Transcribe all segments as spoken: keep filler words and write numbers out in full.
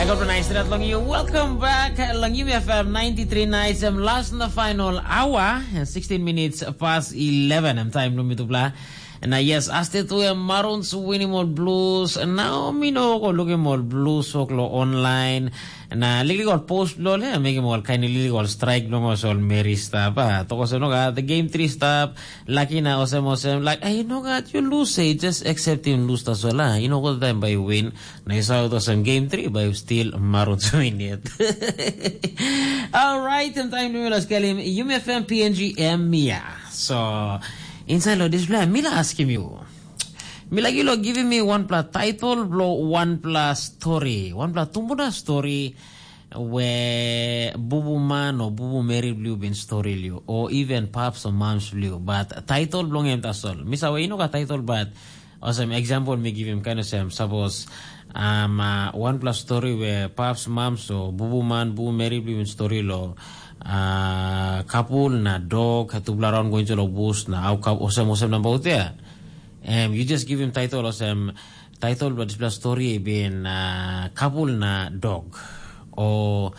Nice that long you. Welcome back. Long you F M ninety-three nights and last in the final hour and sixteen minutes past eleven. I'm time Lumi Tupla. Na yes, aste tu em Maroons winim ol Blues. Nau mi no go lukim ol Blues wok lo online. Na liklik ol post blo le mekim ol kain liklik ol strike blo ol Mary stap. Ah, toko se no ga the game three stap. Laki na osem osem like ai no gat you lose say just accept him lose tasol ah. You know what time by win. Na you saw it osem game three by still Maroons win yet. All right, and time to us kelim you may F M P N G M Mia. So inside lo display mila askim you. Mi lagi lo giving me one pla title blo one pla story, one pla tumbuna story we bubu man o bubu meri bliu bin story liu o even paps o mams bliu, but title bilong em tasol. Mi save ino ka title, but osem example mi givim kain osem, sapos um, uh, one plus story we paps mams o bubu man bubu meri bliu bin story lo uh, kapul na dog tupela raun going to lo bus na au kap osem osem namba utea. Em you just give him title olsem title bilong dispela stori i bin uh, kapul na dog. O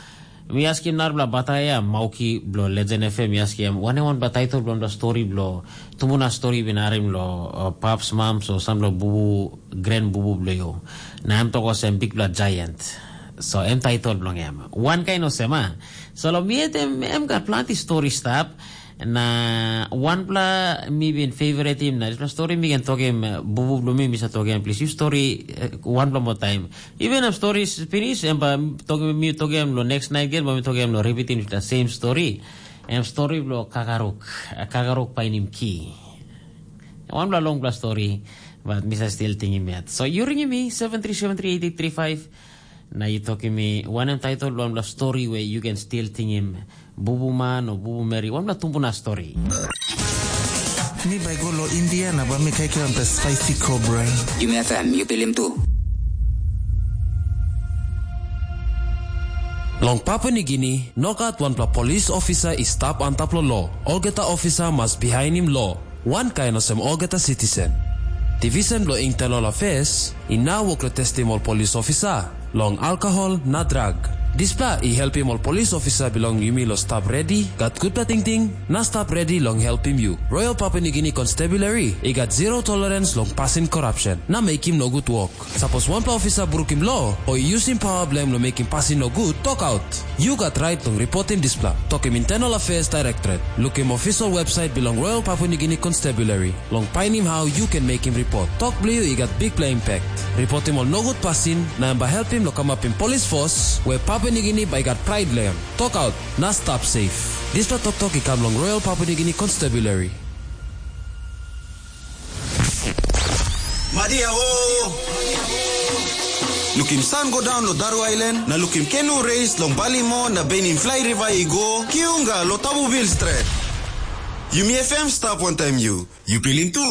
mi askim narapela bataya mauki bilong Legend F M, mi askim wanem wanpela title bilong dispela stori bilong tumbuna stori bin harim long uh, paps mams o sampela bubu gren bubu bilong yu. Na em tok olsem bikpela giant. So em title bilong em. Wan kain olsem a. So long mi em, em gat planti stori stap. Na wanpela mi bin favoritim na dispela stori mi ken tokim bubu bilong mi mi sa tokim plis yu stori wanpela moa taim. Even em stori pinis em ba tokim mi tokim lo next night gen ba mi tokim lo ripitim dispela same stori. Em stori bilong kakaruk, kakaruk painim ki. Wanpela longpela stori, but mi sa stil tingim yet. So yu ringim mi seven three seven three eight eight three five. Na yu tokim mi wanem title bilong wanpela stori we yu ken stil tingim bubu man o bubu meri wanpela tumbuna stori. Mi bai go lo India na bai mi kaikai wanpela spicy cobra. Yumi F M, yu pilim tu. Long Papua Nigini, no gat wanpela polis ofisa i stap antap long lo. Olgeta ofisa mas bihainim lo. Wankain olsem olgeta sitisen. Divisen bilong Internal Affairs i nau wok long testim ol polis ofisa long alkohol na drag. Dispela i helpim ol polis ofisa bilong yumi long stap redi, gat gutpela tingting, na stap redi long helpim yu. Royal Papua Nigini Constabulary i gat zero tolerance long pasin korapsen na mekim nogut wok. Sapos wanpela ofisa brukim lo o i yusim pawa bilong em long mekim pasin nogut, tokaut. Yu gat rait long ripotim dispela. Tokim Internal Affairs Directorate. Lukim official website bilong Royal Papua Nigini Constabulary long painim hau yu ken mekim ripot. Tok bilong yu i gat bikpela impact. Ripotim ol nogut pasin na em bai helpim long kamapim polis fos we Papua Nigini bai gat prait long em. Tokaut na stap safe. Dispela toktok i kam long Royal Papua Nigini Constabulary. Madia o! Lukim san go daun lo Daru Ailan, na lukim kenu reis long Balimo na benim flai riva i go, kiunga lo Tabubil stret. Yumi F M stap wantaim yu. Yu pilim tu?